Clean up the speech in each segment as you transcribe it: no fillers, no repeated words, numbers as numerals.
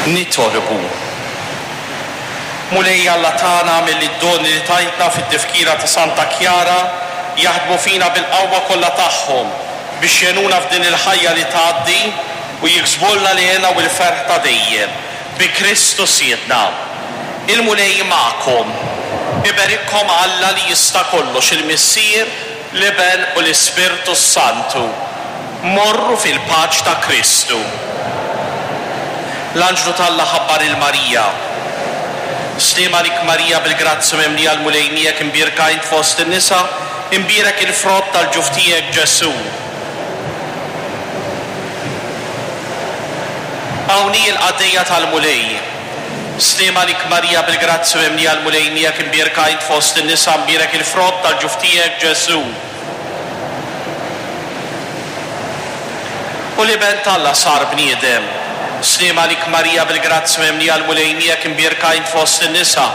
Nitolbu. Mulej Alla tagħna agħmel li d-doni li tajtna fit-tifkira ta' Santa Kjara jaħdmu fina bil-qawwa kollha tagħhom biex jgħinuna f'din il-ħajja li tgħaddi u jiksbulna l-hena u l-ferħ ta' dejjem. Bi Kristu Sidna. Il-Mulej magħkom. Iberikkom Alla li jista' kollox, il-Missier, l-Iben u l-Ispirtu s-Santu. Morru fil-paċ ta' Kristu. L-anġlu t'Alla ħabbar 'il Marija, Sliem għalik Marija bil-grazzja mimlija l-Mulej miegħek imbierka int fost in-nisa, imbierek il-frott tal-ġuf tiegħek Ġesù. Hawn hi l-qaddejja tal-Mulej. Sliem għalik Marija bil-grazzja mimlija l-Mulej miegħek imbierka int fost in-nisa mbierek il-frott tal-ġuf tiegħek Ġesù. U l-Iben t'Alla sar bniedem. Sliem għalik Marija bil-grazzja mimlija l-Mulej miegħek imbierka int fost in-nisa,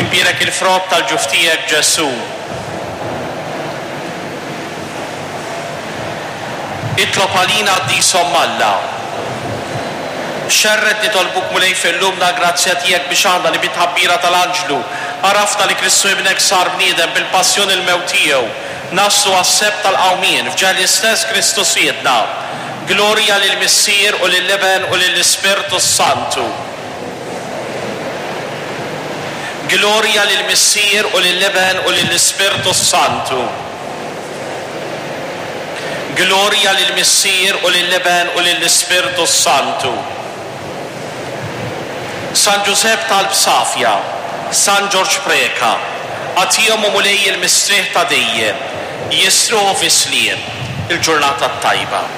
imbierek il-frott tal-ġuf tiegħek Ġesù. Itlob għalina qaddis Omm Alla. Xerred nitolbuk Mulej fi qlubna l-grazzja tiegħek biex aħna li bit-tħabbira tal-anġlu għarafna li Kristu Ibnek sar bniedem bil-passjoni u l-mewt tiegħu, Naslu għas-sebħ tal-qawmien f'ġah l-istess Kristu Sidna. Glorja lill-Missier u lill-Iben u lill-Ispirtu s-Santu. Glorja lill-Missier u lill-Iben u lill-Ispirtu s-Santu. Glorja lill-Missier u lill-Iben u lill-Ispirtu s-Santu. San Ġużepp talb safja, San Ġorġ Preca, agħtihom o Mulej il-mistrieħ ta' dejjem, jistrieħu fis-sliem. Il-ġurnata t-tajba.